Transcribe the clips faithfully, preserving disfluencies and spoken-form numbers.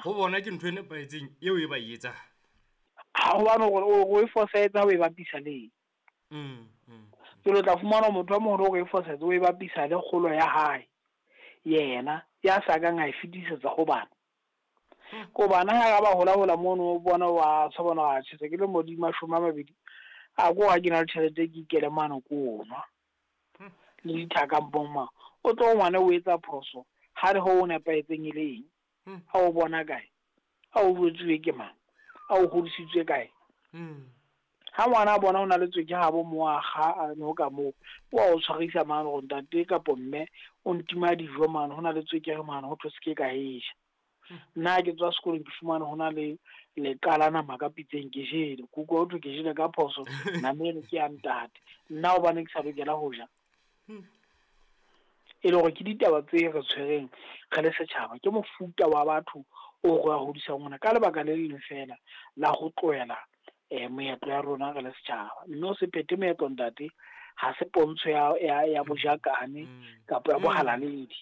Ho bona ke ntho e nepahetseng eo e ba e etsang. Ha hobane hore o e fosahetse ha o e bapisa le eng. Mm, mm. Jwale o tla fumana motho a moholo hore e fosahetse, o e bapisa le kgolo ya hae. Yena ya sa kang a e fetisetsa ho bana. Ko bana ha ba hola hola mono o bona wa tshwa bona wa tjhe, ke le mo di mashome a mabedi. A ko ha ke na le tjhelete ke ikele mane ko nwa. Le dithaka mpong mang. O tlo ngwana o etsa phoso, ha re ho o nepahetseng e le eng? Ha o bona kae? A o jwetsuwe ke mang? A o hodisitswe kae? Ha ngwana a bona o na le tsweke habo mo a kga a no ka moo, o a o tshwarisa mane hore ntate kapo mme o ntima dijo mane, ho na le tswekere mane ho thwe se ke ka e ja. Nna ha ke tswa sekolong ke fumane ho na le leqa la nama ka pitseng ke jele. Ke utlwa ho thwe ke jele ka phoso, nama eno ke ya ntate. Nna hobane ke sa lokela ho ja. E le hore ke ditaba tse re tshwereng re le setjhaba, ke mofuta wa batho o re a hodisang ona ka lebaka le leng feela la ho tlohela eh moetlo ya rona re le setjhaba. Mme o se phethe moetlo ntate, ha se pontsho ya ya ya bojakane kapa ya bohalaledi.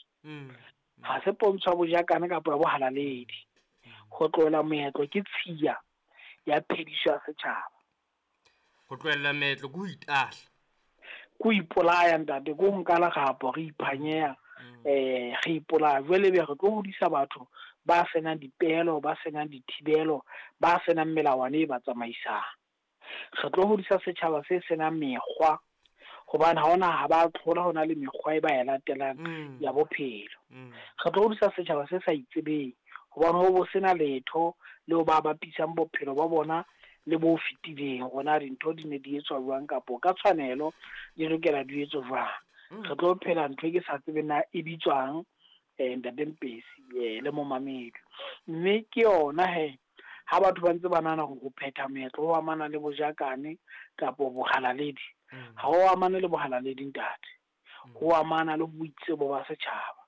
Ha se pontsho ya bojakane kapa ya bohalaledi. Ho tlohela moetlo ke tshiya ya phediso ya setjhaba. Ho tlohela meetlo ke ho itahla. Ke ho ipolaya ntate, ke ho nka lerapo re iphanyeha, eh re ipolaya. Jwale ebe re tlo hodisa batho ba senang dipehelo, ba senang dithibelo, ba senang melawana e ba tsamaisang. Re tlo hodisa setjhaba se senang mekgwa, hobane ha hona ha ba tlhola hona le mekgwa e ba e latelang ya bophelo. Re tlo hodisa setjhaba se sa itsebeng, hobane ho bo sena letho leo ba bapisang bophelo ba bona le bo fetileng, hore na dintho di ne di etswa jwang kapo ka tshwanelo di lokela di etswe jwang. Re tlo phela ntho e ke sa tsebeng na e bitswang, eh ntate Mpesi, eh le momamedi. Mme ke yona he, ha batho ba ntse ba nahana hore ho phetha moetlo ho amana le bojakane kapo bohalaledi, ha ho amane le bohalaledi ntate. Ho amana le boitsebo ba setjhaba.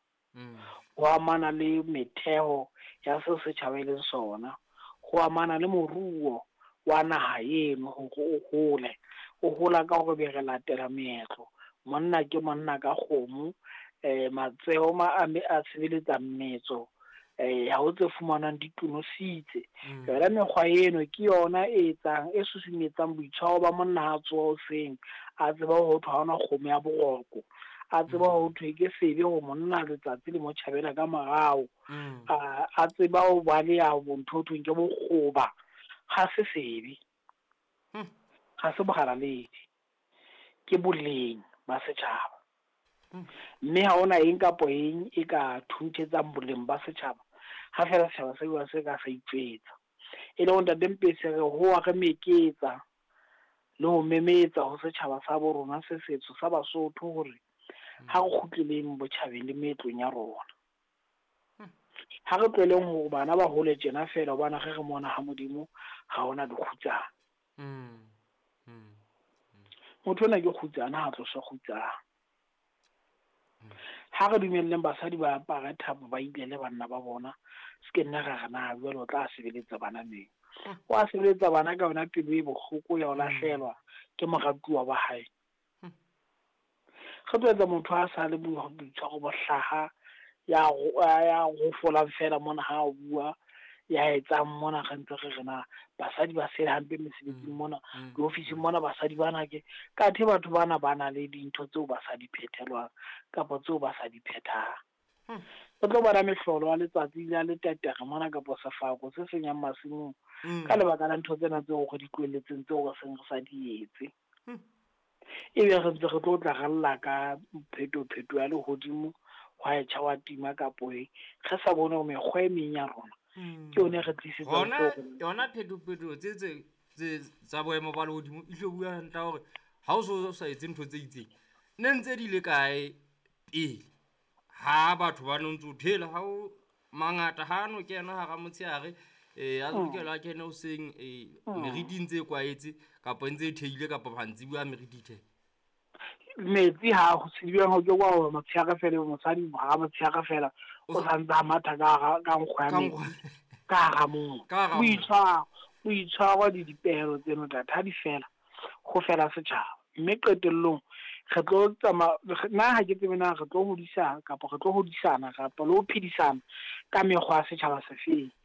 Ho amana le metheo ya seo setjhaba e leng sona. Ho amana le moruo wa naha eno hore o hole. O hola ka hore be re latela meetlo. Monna ke monna ka kgomo, eh matseho ma a me a sebeletsa mmetso, eh ha ho tse fumanwang di tonositse. Yona mekgwa eno ke yona e etsang, e susumetsang boitshwaro ba monna ha tsoha hoseng, a tseba ho thwe ha hona kgomo ya boroko, a tseba ho thwe ke sebe ho monna letsatsi le mo tjhabela ka morao, a, a tseba ho baleha ntho ho thweng ke bokgoba. Ha se sebe, ha se bohalaledi, ke boleng ba setjhaba. Mme ha hona eng kapo eng e ka thunthetsang boleng ba setjhaba, ha feela setjhaba se bua se ka sa itjwetsa. E le hore ntate Mpesi re hoa re meketsa le ho memetsa ho setjhaba sa bo rona se setsho sa Basotho hore ha re kgutleleng botjhabeng le meetlong ya rona. Ha re tlohelleng hore bana ba hole tjena feela, hobane re re mona ha Modimo ha hona dikgutsana. Motho ona ke kgutsana, ha tloswe kgutsana. Ha re dumelleng basadi ba apare thapo, ba ilele banna ba bona, se ke nna ra re na jwale o tla sebeletsa bana neng. O a sebeletsa bana ka yona pelo e bohloko ya ho lahlehelwa ke moratuwa wa hae. Re tlo etsa motho a sa le boitshwaro bo hlaha, ya ro-, ya rofolang feela mona ha a bua, ya etsang mona re ntse re re na basadi ba sele hampe mesebetsing mona, diofising mona basadi bana ke kathe batho bana ba na le dintho tseo ba sa di phethelwang kapa tseo ba sa di phethang. Re tlo bona mehlolo ya letsatsi la letetere mona kapo sefako se senyang masimong ka lebaka la ntho tsena tseo re di tlohelletseng tseo re seng re sa di etse. Ebe re ntse re tlo tla re lla ka phetopheto ya lehodimo, hwa e tjha, wa tima kapo eng, re sa bone hore mekgwa e meng ya rona ke yone re tlisetsang Hona, hlooho. yona phetopheto tse, tse, tse tsa boemo ba lehodimo e tlo bua hantle hore ha o so sa etse ntho tse itseng, ne ntse di le kae pele ha batho ba no ntso thela ha o mangata ha no kena hara motshehare, eh, a lokela a kene hoseng, eh, meriti ntse e kwaetse kapa ntse e theile kapa mantsibuya meriti the. Metsi ha ho tsebjang ho ke kwa hore motshehare fela, mosadi ha motshehare fela, o sa ntse a matha ka hara, ka nkgo ya Ka metsi, nkgo. ka hara moo. Ka hara moo. Boitshwaro, boitshwaro le dipehelo tseno ntate, ha di fela, ho fela setjhaba. Mme qetellong re tlo tsamaya, nna ha ke tsebe na re tlo hodisa kapa re tlo hodisana kapa le ho phedisana ka mekgwa ya setjhaba se feng.